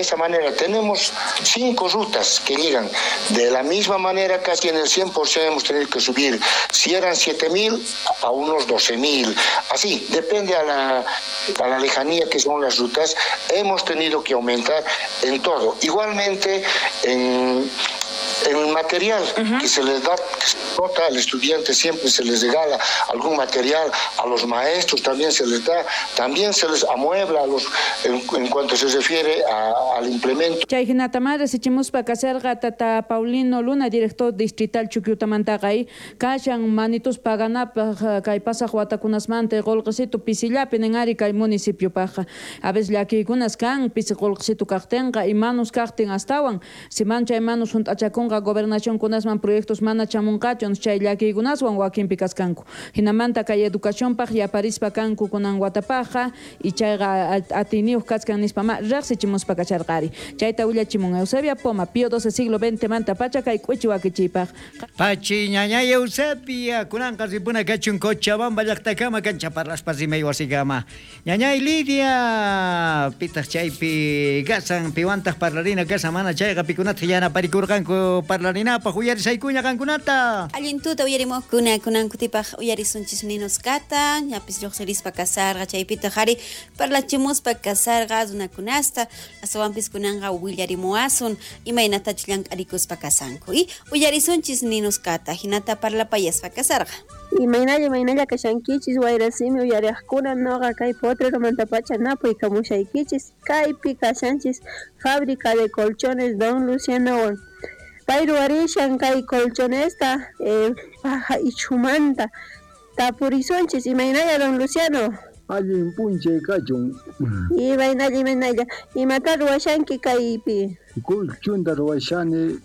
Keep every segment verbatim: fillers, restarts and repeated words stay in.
De esa manera tenemos cinco rutas que llegan. De la misma manera, casi en el cien por ciento hemos tenido que subir. Si eran siete mil, a unos doce mil. Así, depende a la, a la lejanía que son las rutas, hemos tenido que aumentar en todo. Igualmente, en el material uh-huh. que se les da, que se nota al estudiante, siempre se les regala algún material, a los maestros también se les da, también se les amuebla a los, en, en cuanto se refiere a, al implemento. Chay hinata resichimuspa kasarqa tata Paulino Luna, director distrital Chukyutamantaqay, kashan manitus paganapaj kay pasaq watakunasmanta qullqisitu pisillapi nin ari kay municipiopajqa. A veces llakiykunas kan pisi qullqisitu kaqtinqa imanus kaqtin astawan, siman chay manus hunt'achakunqa gobernación kunasman proyectos mana chamunqachun chay llakiykunaswan wakinpi kaskanku. Hinamanta kay educacionpaj yaparispa kanku kunan watapajqa y chayqa atiniyuq kachkan nispa ma riqsichimuspa kacharqari. Chayta willachimun Eusebia Poma, Pío doce siglo veinte manta pacha kay k'uchi wakichiypaj. Pachi ñañay Eusebia, kunanqa ripuna kachun Cochabamba llaqtakama kancha parlaspa rimay wasikama. Ñañay Lidia, pitaq chaypi kasan piwantaq parlarina kasa mana chayqa pikunata yanaparikurqanku parlarinapaj uyarisaykuña qankunata. Allin tuta uyarimuqkuna kunan kutipaj uyarisunchis ninuskata, ñapis lluqsirispa kasarqa chaypitaq ari parlachimuspa kasarqa runakunasta, astawanpis kunanqa willarimuwasun imaynatachus llank'arikuspa kasanku. Y uyarisunchis ninuskata hinata parlapayaspa kasarqa. Imaynalla imaynalla kashankichis wayrasimi uyariqkuna noqa kay Potreromantapacha napuykamushaykichis kaypi kashanchis fábrica de colchones Don Lucianowan. Pay ruwarishan kay colchonesta eh, paja ichumanta tapurisunchis imaynalla Don Luciano. Allin p'unchay kachun. Imaynalla imaynalla imata ruwashanki kaypi. Colchonta ruwashani.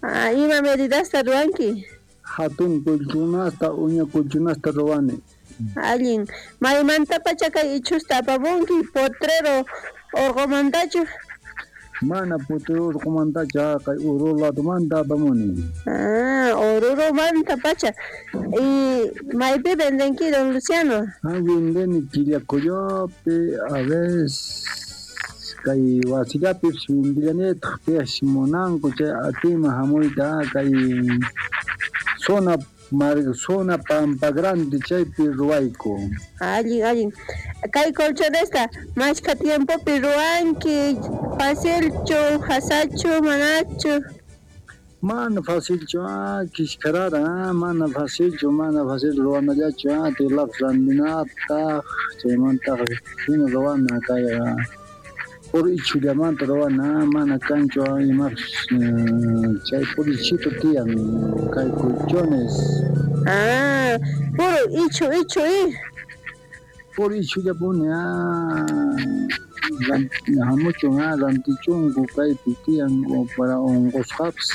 Ah, ima medidasta ruwanki. Hatun colchonasta uña colchonasta ruwani. Allin maymantapacha kay ichusta apamunki Potrero urqumantachu. Mana Potrero urqumantachu kay Oruro ladomanta apamuni. Ah, Oruromanta pacha. Y maypi vendenki Don Luciano. Ah, vendeni Quillacoyopi, a veces kay wasillapis vendillanitaq piash munanku chay atima hamuyta kay zona Mar, zona Pampa Grande chaypi ruwayku. Allin, allin. Kay colchonesta mashka tiempopi ruwanki, facilchu, hasachu, manachu. Mana facilchu, ah, kishkarara, ah, mana facilchu, mana facil ruwanallachu, ah, tilapis rantinataq, chaymantaq hina ruwana kay puro ichullamanta ruwana, mana kanchu imapis chay puro ichito tiyan kay colchones. Ah, puro ichu, ichu, i. Puro ichullapuni, ah, hamuchun, ah, rantichunku kaypi tiyan para unqusqapis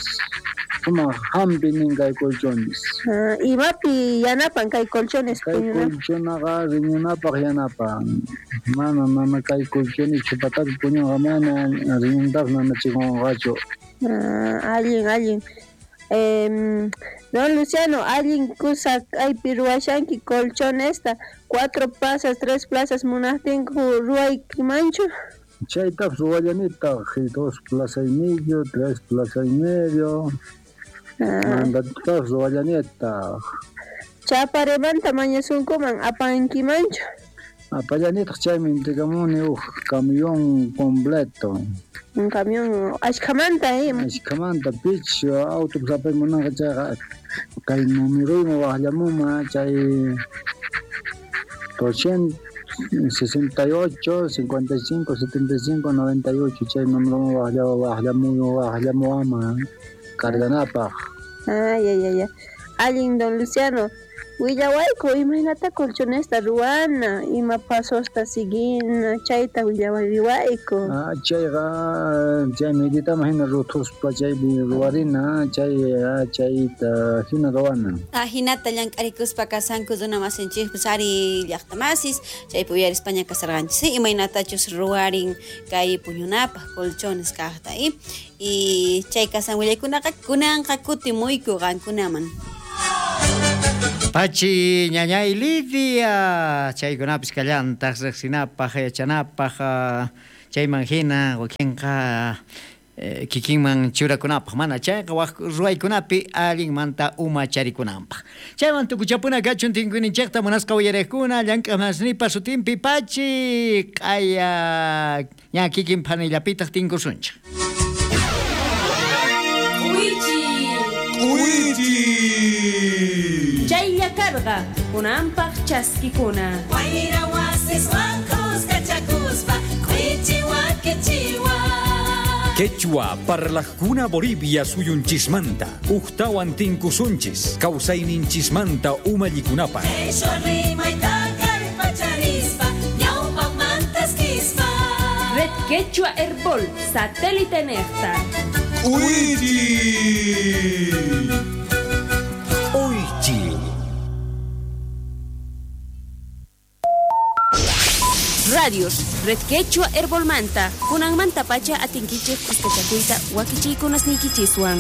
sumaq hampi nin kay colchones. Ah, imapi yanapan kay colchones? Kay colchonaqa riñunapaq yanapan. Mana mana kay colchones chupatapi puñunqa mana riñuntapis nanachikunqachu. Ah, allin, allin. Eh, Don Luciano, allin kusa kaypi ruwashanki colchonesta, cuatro plazas, tres plazas munaqtinku ruwaykimanchu. Chaytapis ruwallanitaq, dos plazas y medio, tres plazas y medio. Ah. Mandatapis ruwallanitaq. Chaparemanta mañasunkuman apankimanchu. Apallanitaq chaymi intikamuni uj camión completo. Un camión ashkamanta, eh. Ashkamanta pich autobús apay munanqa chayqa kay numeruyman waqllamuma chay doscientos sesenta y ocho, cincuenta y cinco, setenta y cinco, noventa y ocho chay numeroman waqlla waqllamu waqllamuwama carganapaq. Ay, ay, ay, ay. Allin Don Luciano. Willawayku imaynata colchonesta ruwana, ima pasosta siguina, chayta willawariwayku. Ah, chayqa chay meditaman hina ruthuspa chaypi ruwarina, chay chayta hina ruwana. Ah, hinata llank'arikuspa kasanku runa masinchikpis ari llaqtamasis, chaypi uyarispaña kasarqanchis, imaynatachus ruwarin kay puñunapaq colchones kaqta, y y chay kasan willaykunaqa kunanqa kutimuyku qankunaman. Pachi ñañay Lidia, chaykunapis kallantaq riqsinapaq yachanapaq Chayman hina wakinqa eh, kikinman churakunapaq mana chayqa wak ruwaykunapi allinmanta umacharikunanpaq. Chayman tukuchapuna kachun tinkuyninchikta munasqa uyariqkuna llank'amasnipa sutinpi pachi q'aya ña kikin phanillapitaq tinkusunchik. K'uychi. K'uychi. Chaylla karqa kunanpaq chaskikuna. Wayra wasiswan kuskachakuspa k'uychi wakichiwa. Quechua parlajkuna Bolivia suyunchismanta ujtawan tinkusunchis kawsayninchismanta umallikunapaq. Qheshwa rimayta kallpacharispa ñawpaqmantaskispa. Red Quechua Herbol satélite nejta. K'uychi. Uychi. Radios, Red Quechua Herbolmanta, kunanmanta pacha atinkichej kuskachakuyta wakichiykunasniykichiswan.